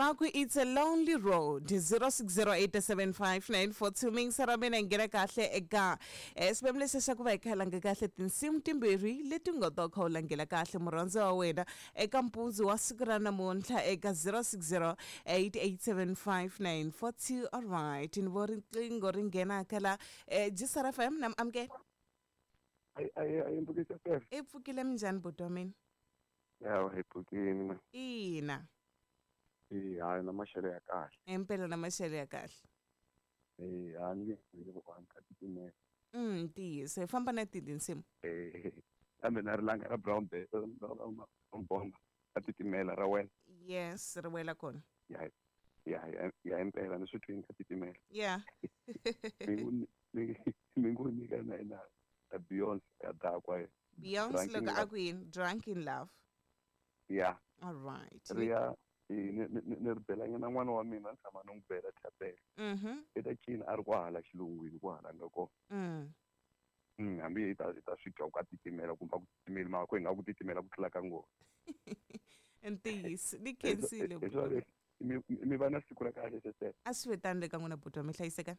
Va ku it's a lonely road. 06087594 mingisa ra mina nghena kahle eka xivemu lexi xa ku va hi kha hi langa kahle tinsimu timbirhi leti nga ta kha u langela kahle murhandzi wa wena eka mpundzu wa siku ra namuntlha eka 0608875942. Alright, ni vo riqingho ri nghenaka la Gisar FM na amukela. Ayi mpfukisa sir. I pfukile minjhani buti wa mina? Ya hi pfukini ma. Ina. Eh hayi na maxelo ya kahle. Impela na maxelo ya kahle. Eh ha ni nge ku ka titimela. Ntiyiso hi famba na tihi tinsimu? Eh kambe na rilanga ra brown bear bomba a titimela ra wena. Yes, ri wela kona. Ya ya ya impela ni swi twini ka titimela. Yeah. Mi ngo nyika na ina Beyonce ya dakwa. Beyonce loko a ku yini? Drunk in Love. Yeah. All right. Riya ni ri belanyana n'wana wa mina ni tshama ni n'wi bela thapelo. I ta cina a ri kwahala xilungwini kwahala nga kona. Hambi hi ta swi twa ku a titimela kumbe a ku titimeli mara ku hi nga ku titimela ku tlula ka ngona. Ntiyiso ni khensile. Mi va na siku ra kahle sesele. A swi ve tano le ka n'wina buti wa mi hlayiseka.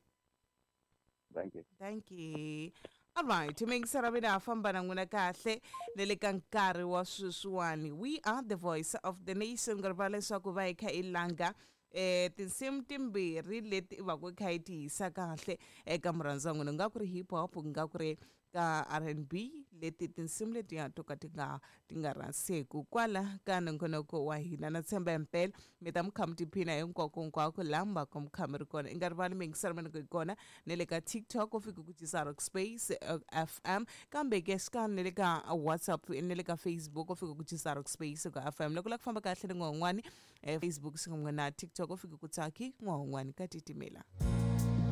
Thank you. Thank you. All right, mingisa ra mina ha famba na n'wina kahle na le ka nkarhi wa sweswiwani. We are the voice of the nation ku rivala leswaku va hi kha i langa tinsimu timbirhi leti va ku kha yi ti hisa kahle eka murhandzi wa n'wina, ku nga ku ri hip hop, ku nga ku ri ka R&B, leti tinsimu letiya to ka ti nga rhaseku kwala ka nongonoko wa hina. Na tshemba impela mi ta mi kha mi tiphina hinkwako hinkwako laha mi va ka mi kha mi ri kona. I nga rivali miyingiselo mina ku hi kona na le ka TikTok u fika ku Jisa Rock Space FM, kambe ke xikan'we na le ka WhatsApp na le ka Facebook u fika ku Jisa Rock Space ka FM. Loko u lava ku famba kahle ni n'wana un'wani Facebook xikan'we na TikTok u fika ku Tsaki n'wana un'wani ka titimela.